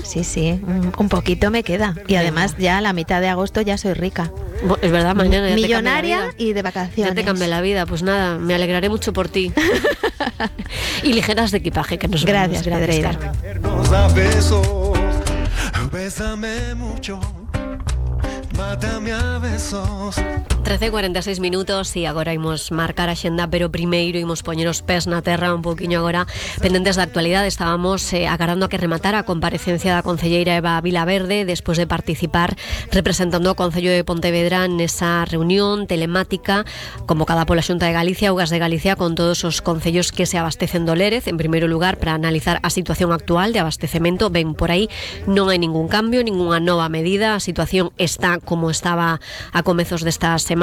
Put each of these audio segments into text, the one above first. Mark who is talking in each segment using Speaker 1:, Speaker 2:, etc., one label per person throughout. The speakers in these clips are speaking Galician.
Speaker 1: sí, un poquito me queda. Y además ya a la mitad de agosto ya soy rica.
Speaker 2: Es verdad, mañana ya
Speaker 1: millonaria y de vacaciones.
Speaker 2: Ya te cambia la vida, pues nada, me alegraré mucho por ti. Y ligeras de equipaje, que nos
Speaker 1: Gracias, Pedreira.
Speaker 3: Bésame mucho, mátame a besos.
Speaker 2: 13:46 minutos e agora imos marcar a xenda, pero primeiro imos poñer os pés na terra un poquinho agora pendentes da actualidade. Estábamos agardando a que rematara a comparecencia da concelleira Eva Vilaverde despois de participar representando o Concello de Pontevedra nesa reunión telemática convocada pola Xunta de Galicia, Augas de Galicia, con todos os concellos que se abastecen do Lérez, en primeiro lugar para analizar a situación actual de abastecemento. Ben, por aí non hai ningún cambio, ninguna nova medida, a situación está como estaba a comezos desta semana,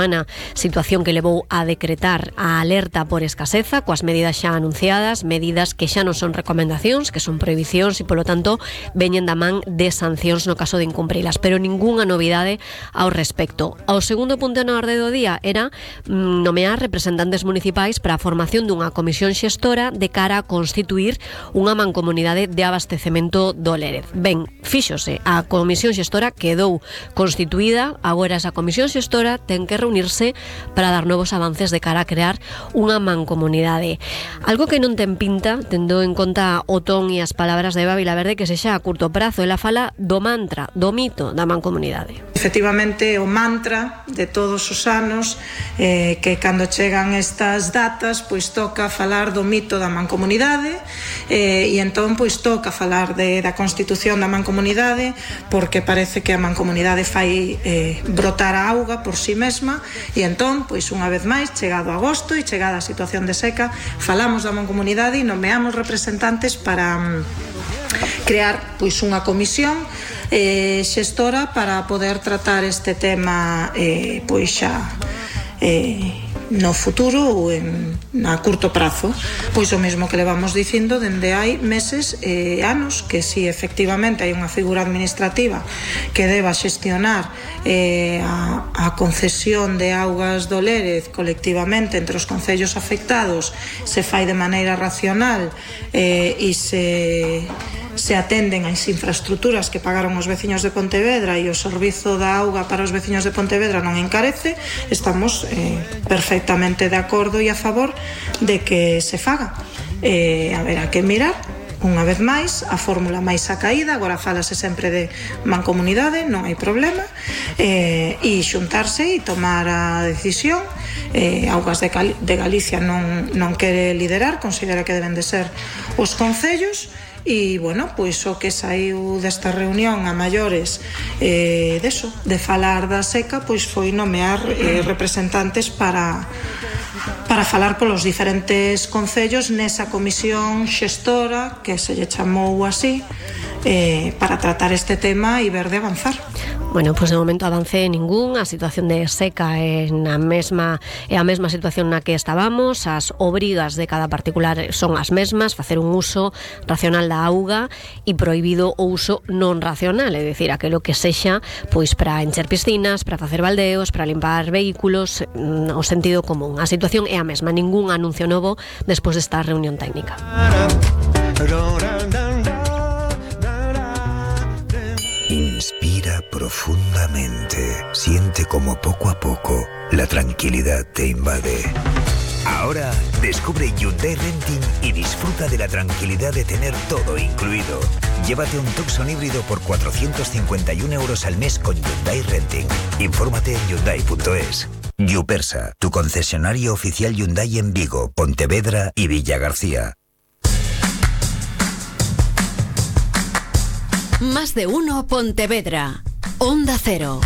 Speaker 2: situación que levou a decretar a alerta por escaseza, coas medidas xa anunciadas, medidas que xa non son recomendacións, que son prohibicións e, polo tanto, veñen da man de sancións no caso de incumprilas, pero ningunha novidade ao respecto. O segundo punto na orde do día era nomear representantes municipais para a formación dunha comisión xestora de cara a constituir unha mancomunidade de abastecemento do Lérez. Ben, fíxose, a comisión xestora quedou constituída, agora esa comisión xestora ten que reunirse para dar novos avances de cara a crear unha mancomunidade. Algo que non ten pinta, tendo en conta o ton e as palabras de Eva Vilaverde, que sexa a curto prazo. Ela fala do mantra, do mito da mancomunidade.
Speaker 4: Efectivamente, o mantra de todos os anos, que cando chegan estas datas, pois toca falar do mito da mancomunidade, e entón pois toca falar da constitución da mancomunidade, porque parece que a mancomunidade fai brotar a auga por si mesma, e entón, pois unha vez máis, chegado agosto e chegada a situación de seca, falamos da mancomunidade e nomeamos representantes para crear pois unha comisión xestora para poder tratar este tema pois xa no futuro ou a curto prazo, pois o mesmo que levamos dicindo dende hai meses e anos, que si efectivamente hai unha figura administrativa que deba xestionar a concesión de augas do Lérez colectivamente entre os concellos afectados, se fai de maneira racional e se atenden as infraestructuras que pagaron os veciños de Pontevedra e o servizo da auga para os veciños de Pontevedra non encarece, estamos perfectamente de acordo e a favor de que se faga. Haberá que mirar unha vez máis a fórmula máis acaída, agora falase sempre de mancomunidade, non hai problema, e xuntarse e tomar a decisión. Augas de Galicia non quere liderar, considera que deben de ser os concellos. E, bueno, pois o que saiu desta reunión a maiores de falar da seca, pois foi nomear representantes para falar polos diferentes concellos nesa comisión xestora que se lle chamou así, para tratar este tema e ver de avanzar.
Speaker 2: Bueno, pois de momento avance ningún, a situación de seca é a mesma situación na que estábamos, as obrigas de cada particular son as mesmas, facer un uso racional da auga e prohibido o uso non racional, é dicir, aquilo que sexa pois para encher piscinas, para facer baldeos, para limpar vehículos, o sentido común. A situación é a mesma, ningún anuncio novo despois desta reunión técnica.
Speaker 5: Inspira profundamente, siente como poco a poco la tranquilidad te invade. Ahora descubre Hyundai Renting y disfruta de la tranquilidad de tener todo incluido. Llévate un Tucson híbrido por 451 euros al mes con Hyundai Renting. Infórmate en Hyundai.es. Yupersa, tu concesionario oficial Hyundai en Vigo, Pontevedra y Villagarcía.
Speaker 6: Más de uno Pontevedra. Onda Cero.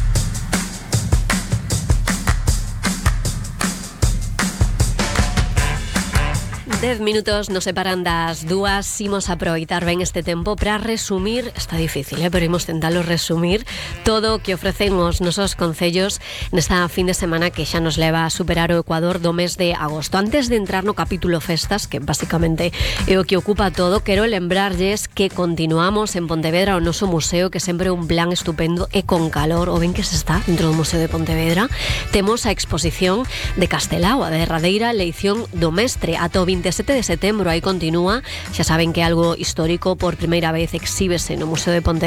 Speaker 2: 10 minutos nos separan das 2. Imos aproveitar ben este tempo para resumir, está difícil, pero imos tentalo resumir todo o que ofrecen os nosos concellos nesta fin de semana que xa nos leva a superar o Ecuador do mes de agosto. Antes de entrar no capítulo festas, que basicamente é o que ocupa todo, quero lembrarlles que continuamos en Pontevedra o noso museo, que sempre é un plan estupendo e con calor, o ben que se está dentro do Museo de Pontevedra. Temos a exposición de Castelao, a derradeira eleición do mestre, ata o 27 de setembro, aí continúa. Xa saben que algo histórico por primeira vez exhíbese no Museo de Pontevedra